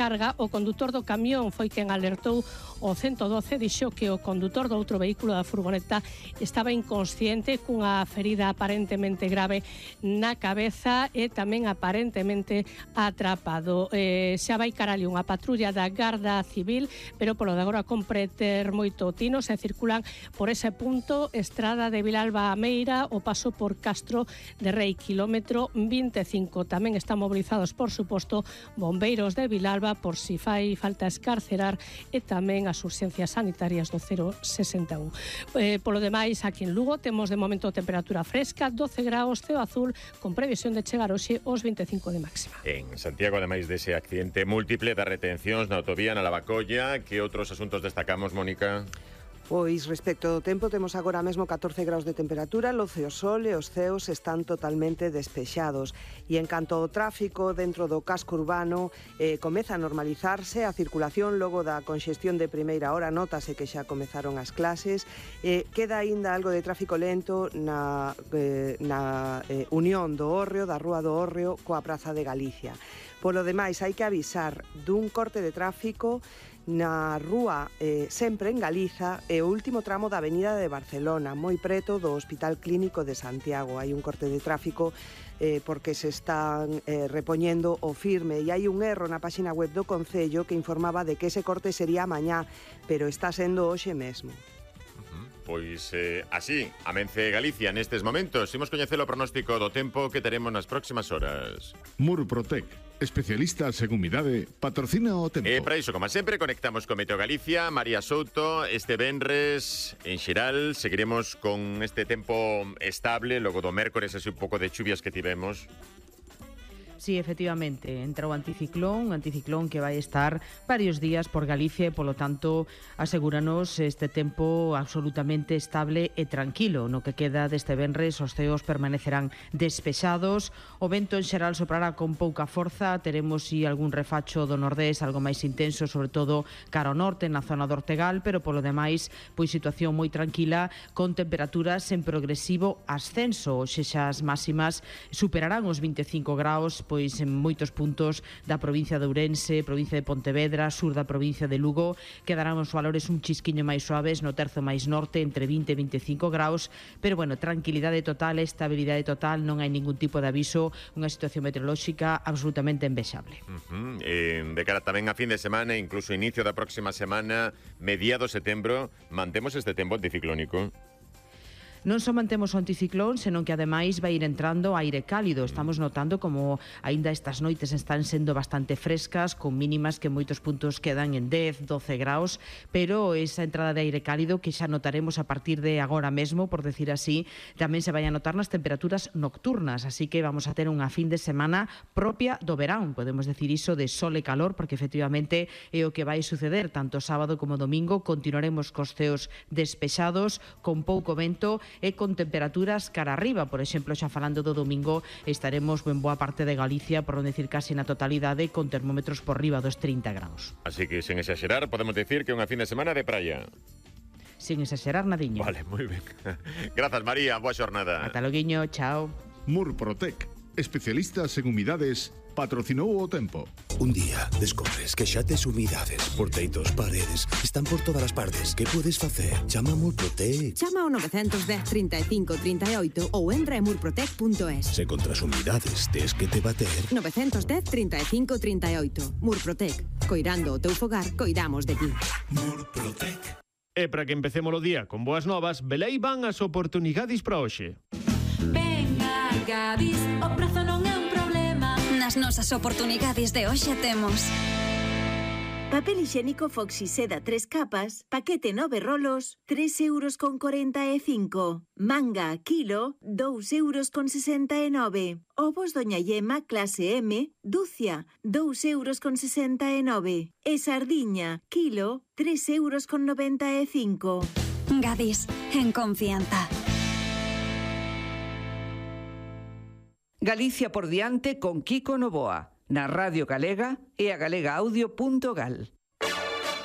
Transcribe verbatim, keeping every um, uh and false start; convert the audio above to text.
carga. O condutor do camión foi quen alertou o ciento doce, dixo que o condutor do outro vehículo da furgoneta estaba inconsciente cunha ferida aparentemente grave na cabeza e tamén aparentemente atrapado. Eh, xa vai carali unha patrulla da Garda Civil, pero polo de agora compre ter moito tino. Se circulan por ese punto Estrada de Vilalba a Meira, o paso por Castro de Rei, kilómetro vinte e cinco. Tamén están mobilizados, por suposto, bombeiros de Vilalba por si fai falta escarcerar, e tamén as urxencias sanitarias do cero sesenta e un. Eh, polo demais, aquí en Lugo temos de momento temperatura fresca, doce graus, ceo azul, con previsión de chegar hoxe aos vinte e cinco de máxima. En Santiago, ademais dese accidente múltiple das retencións na autovía na Lavacolla, que outros asuntos destacamos, Mónica? Pois respecto do tempo, temos agora mesmo catorce graus de temperatura, loce o sol e os ceos están totalmente despexados. E en canto ao tráfico dentro do casco urbano, eh, comeza a normalizarse a circulación logo da conxestión de primeira hora. Nótase que xa comezaron as clases. Eh, queda aínda algo de tráfico lento na, eh, na eh, unión do Hórreo, da Rúa do Hórreo, coa Praza de Galicia. Polo demais, hai que avisar dun corte de tráfico na rúa eh, sempre en Galiza e o último tramo da Avenida de Barcelona, moi preto do Hospital Clínico de Santiago. Hai un corte de tráfico eh, porque se están eh, repoñendo o firme, e hai un erro na páxina web do Concello que informaba de que ese corte sería mañá, pero está sendo hoxe mesmo. Pois eh, así, amence Galicia nestes momentos. Imos coñecer o pronóstico do tempo que teremos nas próximas horas. Murprotec, especialistas en humidade, patrocina o tempo. E para iso, como sempre, conectamos con Meteo Galicia. María Souto, este venres en xeral seguiremos con este tempo estable, logo do mércores, así un pouco de chuvias que tivemos. Sí, efectivamente, entra o anticiclón, un anticiclón que vai estar varios días por Galicia e, polo tanto, asegúranos este tempo absolutamente estable e tranquilo. No que queda deste venres, os ceos permanecerán despexados, o vento en xeral soprará con pouca forza, teremos si algún refacho do nordés, algo máis intenso, sobre todo cara ao norte, na zona do Ortegal, pero polo demais, pois situación moi tranquila, con temperaturas en progresivo ascenso. Hoxe xa as máximas superarán os vinte e cinco graus, pois en moitos puntos da provincia de Ourense, provincia de Pontevedra, sur da provincia de Lugo, quedarán os valores un chisquiño máis suaves, no terzo máis norte, entre vinte e vinte e cinco graus, pero bueno, tranquilidade total, estabilidade total, non hai ningún tipo de aviso, unha situación meteorolóxica absolutamente envexable. Uh-huh. eh, de cara tamén a fin de semana, incluso inicio da próxima semana, mediado setembro, mantemos este tempo anticiclónico? Non só mantemos o anticiclón, senón que ademais vai ir entrando aire cálido. Estamos notando como aínda estas noites están sendo bastante frescas, con mínimas que en moitos puntos quedan en dez, doce graus, pero esa entrada de aire cálido que xa notaremos a partir de agora mesmo, por decir así, tamén se vai a notar nas temperaturas nocturnas, así que vamos a ter unha fin de semana propia do verán, podemos decir iso de sol e calor, porque efectivamente é o que vai suceder tanto sábado como domingo. Continuaremos cos ceos despexados, con pouco vento e con temperaturas cara arriba. Por exemplo, xa falando do domingo, estaremos en boa parte de Galicia, por non decir casi na totalidade, con termómetros por riba dos trinta graus. Así que, sen exagerar, podemos decir que é unha fin de semana de praia. Sin exagerar nadiño. Vale, moi ben. Grazas, María, boa xornada. Ata loguiño, chao. Murprotec, especialistas en humidades, patrocinou o tempo. Un día descobres que xa tes humidades por teitos, paredes, están por todas as partes. Que podes facer? Chama a Murprotec. Chama ao nove un cero, trinta e cinco, trinta e oito ou entra en murprotec punto es. Se contra as humidades tes que te bater. nove un cero, trinta e cinco, trinta e oito. Murprotec. Coirando o teu fogar, coidamos de ti. Murprotec. E para que empecemos o día con boas novas, velei van as oportunidades para hoxe. Venga, Gadis, o prazo non é un problema. Nas nosas oportunidades de hoxe temos papel higiénico Foxy Seda tres capas, paquete nove rolos, tres euros con cuarenta e cinco. Manga kilo, dous euros con sesenta e nove. Ovos Doña Yema clase M, dúcia, dous euros con sesenta e nove. E sardiña, kilo, tres euros con noventa e cinco. Gadis, en confianza. Galicia por diante con Kiko Novoa, na Radio Galega e a galega audio punto gal.